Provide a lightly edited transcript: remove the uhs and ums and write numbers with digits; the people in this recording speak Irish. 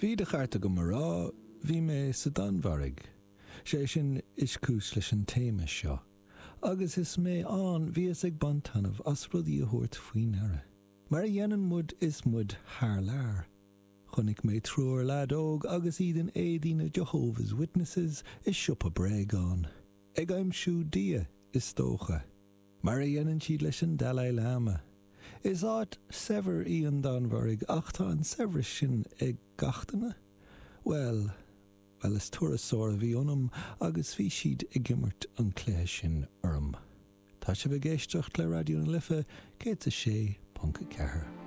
Bhí de cheart agam a rá, bhí mé sa Danmhairg. Sé sin is cúis leis an téama seo. Agus is mé ann, bhíos ag baint taitneamh as rudaí a thabhairt faoi ndeara. Mar a dhéanann muid is muid thar lear. Chonaic mé triúr leaid óg agus iad in éadaí na Jehovah's Witnesses i siopa bréagán. Ag aimsiú Dia, is dócha. Mar a dhéanann siad leis an Dalai Lama. Is áit saibhir í an Danmhairg ach tá an saibhreas sin ag gach duine? Bhuel, bhuel is turasóir a bhí ionam agus bhí siad ag imirt an cluiche sin orm. Tá sibh ag éisteacht le Raidió na Life 106.4.